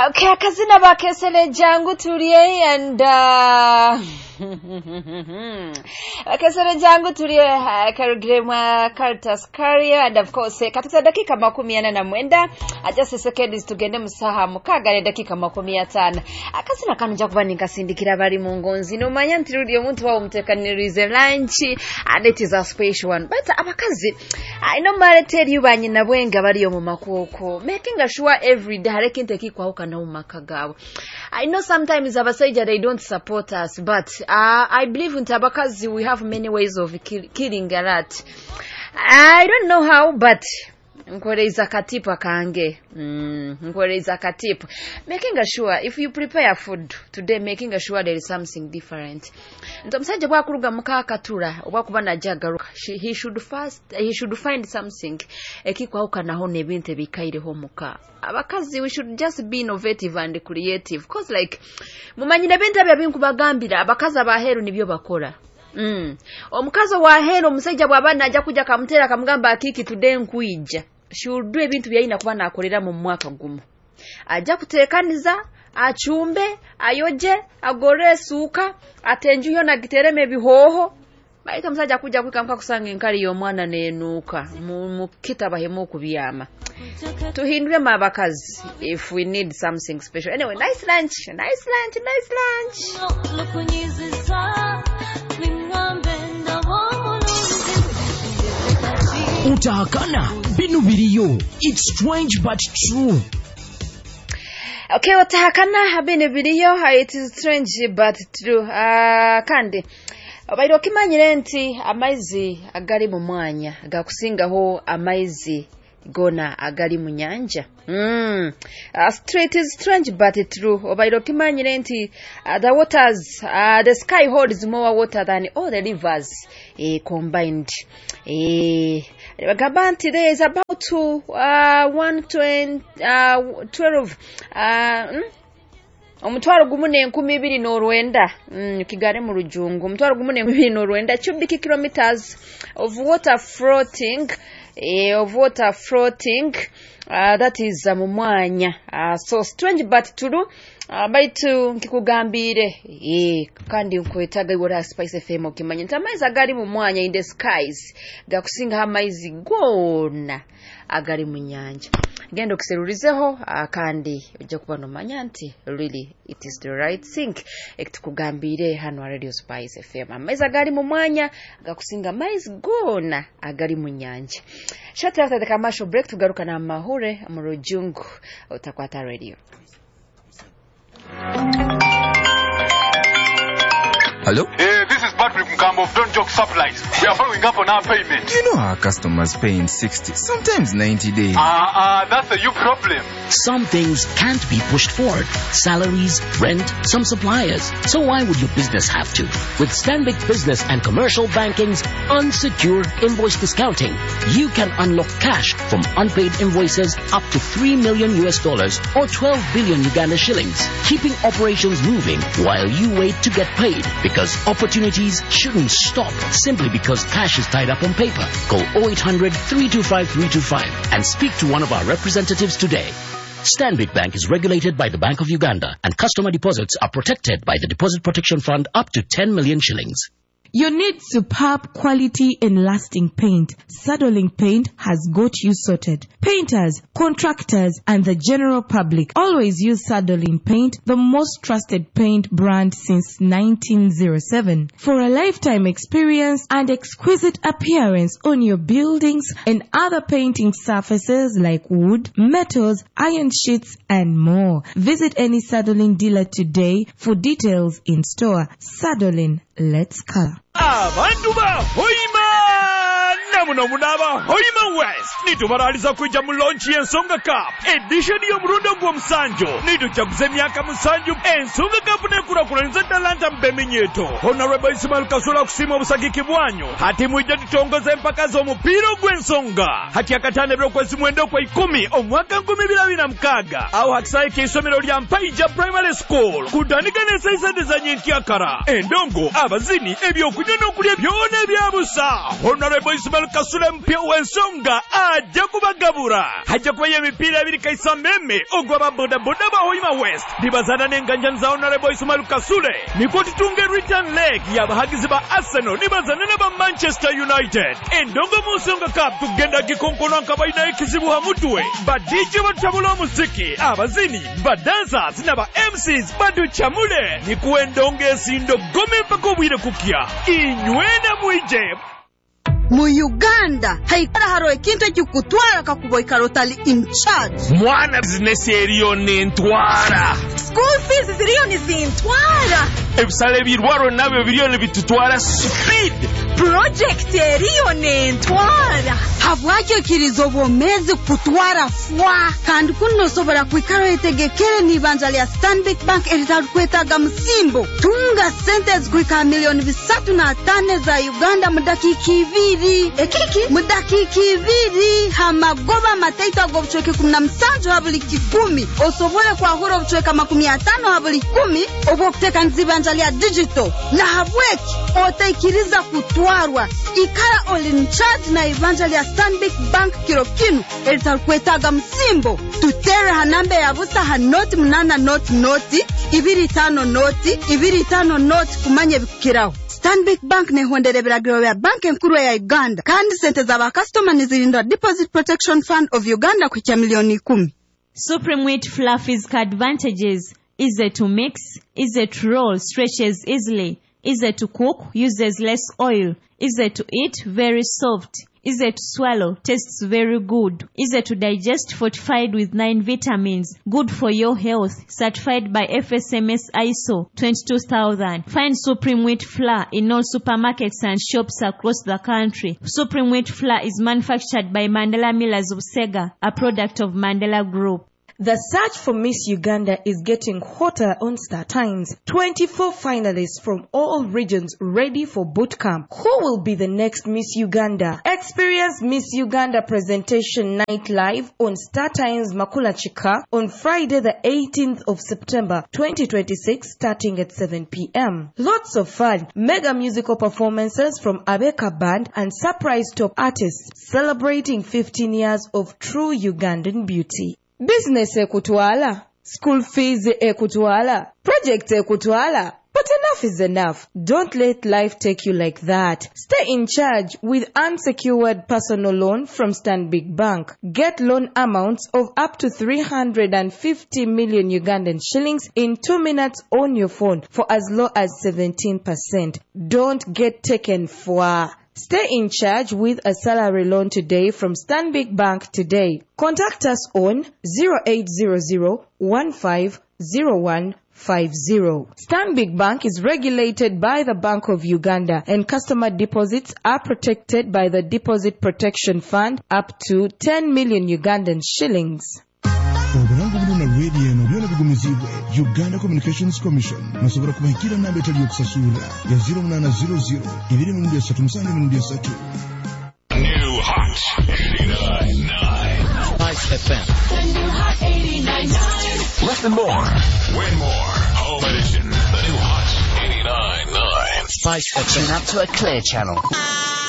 Okay, akazina bakesele jangu tulye and bakesele jangu tulye karugire mwa Caritas Carrier and of course katika dakika 49 just seconds tugende musaha mukaga ne dakika 50. Akazina kano nja kuba ninkasindikira bali mu ngonzi nomanya nti rudi omuntu wawo mutekanirize lunch and it is a special one. But abakazi I normally tell you banyina bwenga bali mu makuoko making sure every day hare kintu ekikwahukana mu maka gawe. I know sometimes abasajja they don't support us, but I believe nti abakazi we have many ways of killing a rat. I don't know how, but nkoreiza katipu kange. Nkoreiza katipu. Making sure if you prepare food today, making sure there is something different. Nti omusajja bwakuruga muka katura obwakuba najagaruka, he should first he should find something ekikwahukanaho n'ebintu ebikaireho muka. Abakazi we should just be innovative and creative, cause like mumanyire ebintu ebyo binkubagambira abakazi abaheru nibyo bakora. Omukazi waheru omusajja bw'aba najja kujja kamutera kamugamba akiki today nkuija, she will do ebintu byalina kuba nakolera mu mwaka gumu. Ajja kuteekaniza, achumbe, ayoje, agore esuuka, ate enju yona agitereme ebihooho. Baita omusajja kujja kwika kusanga enkali y'omwana nenuuka mukita bahemu okubyama. Tuhinduremu abakazi if we need something special. Anyway, nice lunch, nice lunch, nice lunch. Utahakana binu biriyo. It's strange but true. Okay, utahakana binu biriyo. It is strange but true. Kandi obaire okimanyire nti amaizi agali mu mwanya gakusingaho amaizi gona agali mu nyanja. It is strange but true. Obaire okimanyire nti the waters, the sky holds more water than all the rivers combined. Bagamba nti there is about 112 1,209 kigare mu rujungu 1,209 cubic kilometers of water floating that is mu mwanya. So strange but true. Baitu nkikugambire kandi nkwetaga iwora Spice FM okimanya nti amaizi agali mu mwanya in the skies gakusinga amaizi gona agali mu nyanja. Genda okuserurizeho kandi ojja kuba nomanya nti really it is the right thing ekitukugambire hano Radio Spice FM. Amaizi agali mu mwanya gakusinga amaizi gona agali mu nyanja. Shortly after the commercial break tugaruka na mahure mu rujungu utakwata radio. Hello? Hey, this is Patrick Mkambo of Don't Joke Supplies. We are following up on our payment. You know our customers pay in 60, sometimes 90 days. That's a you problem. Some things can't be pushed forward. Salaries, rent, some suppliers. So why would your business have to? With Stanbic Business and Commercial Banking's unsecured invoice discounting, you can unlock cash from unpaid invoices up to $3 million or 12 billion Uganda shillings, keeping operations moving while you wait to get paid. Because opportunities shouldn't stop simply because cash is tied up on paper. Call 0800 325 325 and speak to one of our representatives today. Stanbic Bank is regulated by the Bank of Uganda, and customer deposits are protected by the Deposit Protection Fund up to 10 million shillings. You need superb quality and lasting paint. Sadolin Paint has got you sorted. Painters, contractors, and the general public always use Sadolin Paint, the most trusted paint brand since 1907. For a lifetime experience and exquisite appearance on your buildings and other painting surfaces like wood, metals, iron sheets, and more. Visit any Sadolin dealer today for details in store. Sadolin, let's color. Abantu ba Hoima namuno munaba Hoima West nitubaraliza kwijja mu launch y'Ensonga Cup edition y'omulundi ogw'omusanju. Nitujaguza emyaka 7 Ensonga Cup n'enkulakulaniza talanta mu Beminyeto. Honorable Ismail Kasula kusiima obusagiki bwanyu. Hati mwijja tutongoza empaka z'omupiira ogw'ensonga hati akatano eby'okwezi 9 okwa 10 omwaka 2026 awo hakisayi k'isomero lya Mpaija Primary School kutandika n'esaisente za nyenkyakara endongo abazini ebyokunywa n'okulya byona ebyabusa. Honorable Ismail Kasule mpya w'ensonga ajja kubagabura. Hajja kubayo emipiira ebiri kaisa meme ogw'aba bodaboda ba Hoima West nibazana n'enganjani za Honorable Ismail Kasule. Nikwo tutunge return leg y'abahagizi ba Arsenal nibazana n'aba Manchester United. Endongo mu Nsonga Cup tugenda gikonkona nka balina ekizibu ha mutwe. Ba DJ batabula omuziki, abazini, ba dancers n'aba MCs baduchamule. Nikuwa endongo esindo gome mpaka obwire kukya. Inywena mwije. Mu Uganda haikara haro ekintu ekikutwara kakuba ikara otali in charge. Mwana bizinesi eriyo nentwara. School fees ziriyo nizintwara. Ebisale ebirwaro nabyo biriyo nibitutwara speed. Project eriyo nentwara. Habwaki okiriza obwomezi kutwara fwa? Kandi kuno osobora kwikara oyetegekere n'ibanja lya Stanbic Bank eritarukwetaaga musimbo. Tunga sente ezikuhika 305 million za Uganda mu dakiika 2. Ekiki? Mu dakiika 2 hamagoba mataito ag'obucweka 17 ha buli 10. Osobole kwahura obucweka 50 ha buli 10 obw'okuteekaniza ibanja lya digital. Na habweki otaikiriza kutwarwa. Ikara oli in charge na ibanja lya Stanbic Bank kiro kinu eritarukwetaaga musimbo. Tutere ha namba ya busa ha 0 8 0 0 2 5 0 2 5 0 kumanya ebikukiraho. Stanbic Bank nehondera ebiragiro bya banki enkuru ya Uganda kandi sente z'abakasitoma nizirindwa Deposit Protection Fund of Uganda kuhikya 10 million. Supreme Wheat Fluffy's advantages: easy to mix, easy to roll, stretches easily, easy to cook, uses less oil, easy to eat, very soft, easy to swallow, tastes very good, easy to digest, fortified with 9 vitamins, good for your health, certified by FSMS ISO 22000. Find Supreme Wheat Flour in all supermarkets and shops across the country. Supreme Wheat Flour is manufactured by Mandela Millers of Sega, a product of Mandela Group. The search for Miss Uganda is getting hotter on Star Times. 24 finalists from all regions ready for boot camp. Who will be the next Miss Uganda? Experience Miss Uganda presentation night live on Star Times Makula Chika on Friday the 18th of September 2026 starting at 7 p.m. Lots of fun, mega musical performances from Abeka Band and surprise top artists celebrating 15 years of true Ugandan beauty. Business ekutwala, school fees ekutwala, project ekutwala. But enough is enough. Don't let life take you like that. Stay in charge with unsecured personal loan from Stanbic Bank. Get loan amounts of up to 350 million Ugandan shillings in 2 minutes on your phone for as low as 17%. Don't get taken for. Stay in charge with a salary loan today from Stanbic Bank today. Contact us on 0800 1501 50. Stanbic Bank is regulated by the Bank of Uganda and customer deposits are protected by the Deposit Protection Fund up to 10 million Ugandan shillings. Obulango buno na rediyo eno byona bigumizibwe Uganda Communications Commission. Musobola kubahikira namba etali yokusasula ya 0800 2 7 3. New Hot 89.9. Spice FM. The new Hot 89.9. Listen more. Win more. Home edition. The new Hot 89.9. Spice FM. Tune up to a clear channel.